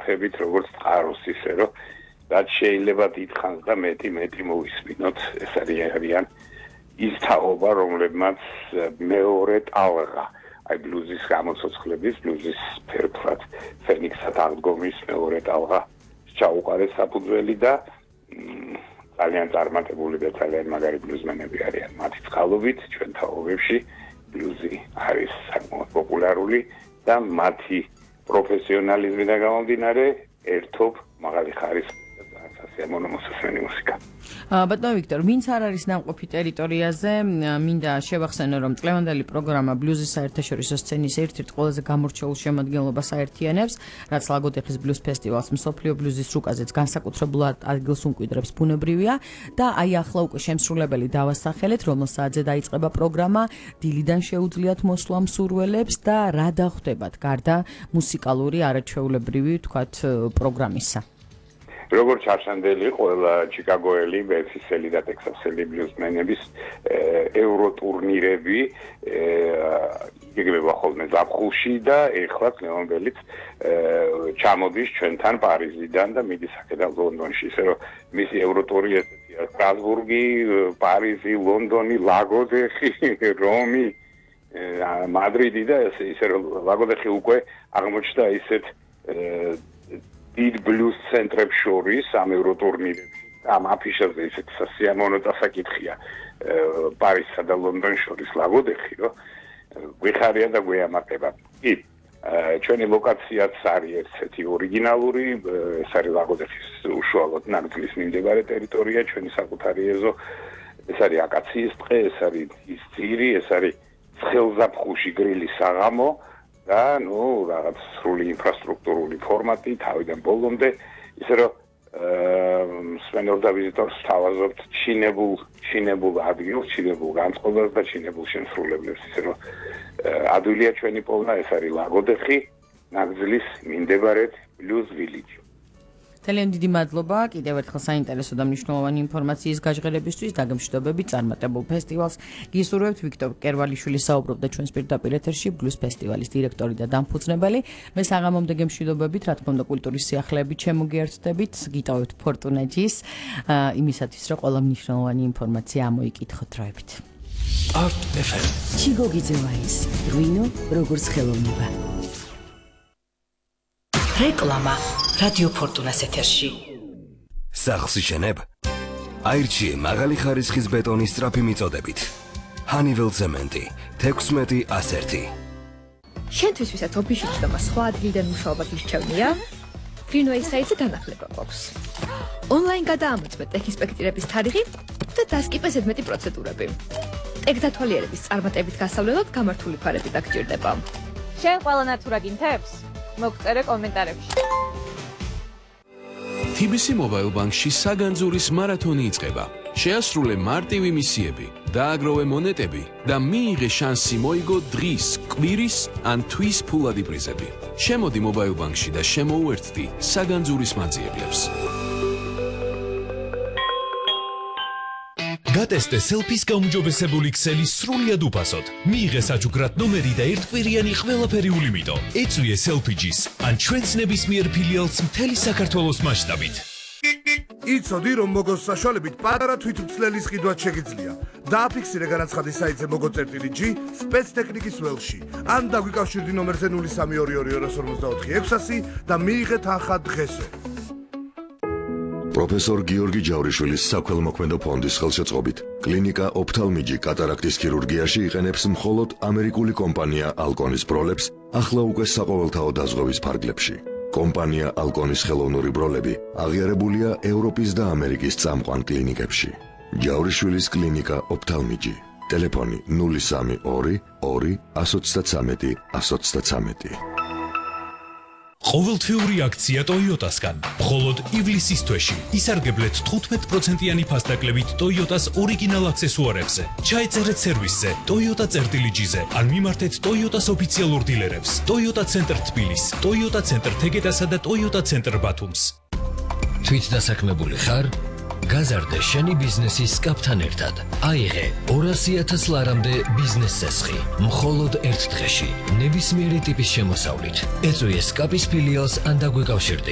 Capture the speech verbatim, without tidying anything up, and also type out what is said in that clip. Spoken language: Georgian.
ვახებით როგორც წყაროს ისე რომ რაც შეიძლება დიდხანს და მეტი მეტი მოვისმინოთ ეს არიან ის თაობა რომლებმაც მეორე ტალღა აი ბლუზის გამოცოცხლების ბლუზის ფერფლად ფენიქსად აღდგომის მეორე ტალღა ჩაუყარეს საფუძველი და ძალიან წარმატებული და ძალიან მაგარი ბლუზმენები არიან მათი წყალობით ჩვენ თაობებში ბლუზი არის საკმაოდ პოპულარული და მათი პროფესიონალიზმიდან გამომდინარე ერთობ მაღალი ხარისხის სასიამოვნო მოსასმენი მუსიკა. ბატონო ვიქტორ, ვინც არ არის ნამყოფი ტერიტორიაზე, მინდა შევახსენო, რომ წლევანდელი პროგრამა ბლუზის საერთაშორისო სცენის ერთ-ერთ ყველაზე გამორჩეულ შემადგენლობას აერთიანებს, რაც ლაგოდეხის ბლუზ ფესტივალს მსოფლიო ბლუზის რუკაზეც განსაკუთრებულად ადგილს უმკვიდრებს ბუნებრივია და აი ახლა უკვე შემსრულებელი დავასახელეთ, რომელსაც დაიწყება პროგრამა, დილიდან შეუძლიათ მოსვლა მსურველებს და რა დახვდებათ გარდა მუსიკალური არაჩვეულებრივი, თქვათ, პროგრამისა. როგორც ჩარჩანდელი ყველა ჩიკაგოელი, ბელგიელი და ტექსასელი ბლუზმენების ევროტურნირები იგეგმება ხოლმე ზაფხულში და ეხლა ნოემბერიც ჩამოდის ჩვენთან პარიზიდან და მიდის აქედან ლონდონში, ისე რომ მისი ევროტური ესეთია სტრასბურგი, პარიზი, ლონდონი, ლაგოდეხი, რომი, მადრიდი და ისე რომ ლაგოდეხი უკვე აღმოჩნდა ისეთ დიდ ბლუზ ცენტრებს შორის ამ ევროტურნირებში ამ აფიშაზე ისეთ სასიამოვნო დასაკითხია პარიზსა და ლონდონის შორის ლაგოდეხი რომ გვიხარია და გვეამაყება. კი, ჩვენი ლოკაციაც არის ერთ-ერთი ორიგინალური, ეს არის ლაგოდეხის უშუალოდ ნაკრძლის მიმდებარე ტერიტორია, ჩვენი საკუთარი ეზო, ეს არის აკაციის ტყე, ეს არის ის ძირი, ეს არის ცხელზაფხულში გრილის საღამო და ნუ რაღაც სრული ინფრასტრუქტურული ფორმატი თავიდან ბოლომდე, ისე რომ მსმენელს და ვიზიტორს თავაზობთ ჩინებულ ჩინებულ ადგილს, ჩინებულ განწყობას და ჩინებულ შემსრულებლებს, ისე რომ ადვილია ჩვენი პოვნა, ეს არის ლაგოდეხი, ნაკრძლის მიმდებარედ ბლუზ ვილიჯი. ძალიან დიდი მადლობა კიდევ ერთხელ საინტერესო და მნიშვნელოვანი ინფორმაციის გაჟღერებისთვის დაგემშვიდობებით წარმატებულ ფესტივალს. გისურვებთ ვიქტორ კერვალიშვილი საუბრობდა ჩვენს პირდაპირ ეთერში ბლუზ ფესტივალის დირექტორი და დამფუძნებელი. მე საღამომდე გემშვიდობებით, რა თქმა უნდა კულტურის სიახლეებით შემოგიერთდებით, გიტოვებთ ფორტუნაჯის იმისათვის რომ ყველა მნიშვნელოვანი ინფორმაცია ამოიკითხოთ დროებით. Art ეფ ემ ჩიგოგიძევაის რუინო როგორც ხელოვნება. რეკლამა რადიო ფორტუნას ეთერში. სახლს იშენებ? აირჩიე მაღალი ხარისხის ბეტონის სწრაფი მიწოდებით. ჰანიվել ცემენტი თექვსმეტი ასერთი. შენთვის ვისაც ოფისში ჩდომა სხვა ადგილიდან მუშაობა გირჩევნია? Greenway საიტზე განახლება გვაქვს. ონლაინ გადაამოწმე ტექ-ინსპექტირების თარიღი და დასკიპე ზედმეტი პროცედურები. ტექ-დათვალიერების წარმატებით გასავლელად გამართული ფარები დაგჭირდება. შენ ყველა ნათურა გინთებს? მოგწერე კომენტარებში. თი ბი სი Mobile Bank-ში საგანძურის მარათონი იწყება. შეასრულე მარტივი მისიები, დააგროვე მონეტები და მიიღე შანსი მოიგო დღის, კვირის ან თვის ფულადი პრიზები. შემოდი Mobile Bank-ში და შემოუერთდი საგანძურის მაძიებლებს. გატესტე სელფის გაუმჯობესებული ქსელი სრულიად უფასოდ. მიიღე საჩუქრად ნომერი და ერთკვირიანი ყველაფერი ულიმიტო. ეწვიე სელფიჯის ან ჩვენს ნებისმიერ ფილიალს მთელი საქართველოს მასშტაბით. იცოდი რომ მოგოს საშუალებით პატარა თვითმცლელის ყიდვაც შეგიძლია. დააფიქსირე განაცხადის საიტზე მოგო.g სპეცტექნიკის ველში. ან დაგვიკავშირდი ნომერზე ნული სამი ორი ორი ორ ორმოცდაოთხი ექვსასი და მიიღე თანხა დღესვე. პროფესორ გიორგი ჯავრიშვილის საქველმოქმედო ფონდის ხელშეწყობით კლინიკა ოფთალმიჯი კატარაქტის ქირურგიაში იყენებს მხოლოდ ამერიკული კომპანია ალკონის ბროლებს ახლა უკვე საყოველთაო დაზღვევის ფარგლებში. კომპანია ალკონის ხელოვნური ბროლები აღიარებულია ევროპის და ამერიკის წამყვან კლინიკებში. ჯავრიშვილის კლინიკა ოფთალმიჯი. ტელეფონი ნული სამი ორი ორი ასი ოცდათრამეტი ასი ოცდათრამეტი. ყოველთვიური აქცია Toyota-სგან. მხოლოდ ივლისის თვეში ისარგებლეთ თხუთმეტ პროცენტიანი ფასდაკლებით Toyota-s ორიგინალ აქსესუარებზე. ჩაეწერეთ სერვისზე Toyota წერტილიჯიზე ან მიმართეთ Toyota-s ოფიციალურ დილერებს. Toyota ცენტრ თბილის, Toyota ცენტრ თეგედასა და Toyota ცენტრ ბათუმს. თვით დასაქმებული ხარ? გაზარდე შენი ბიზნესის კაპთან ერთად. აიღე ორასი ათას ლარამდე ბიზნეს წესხი. მხოლოდ ერთ დღეში. ნებისმიერი ტიპის შემოსავლით. ეწვიე სკაპის ფილიალს ან დაგვეკავშირდი.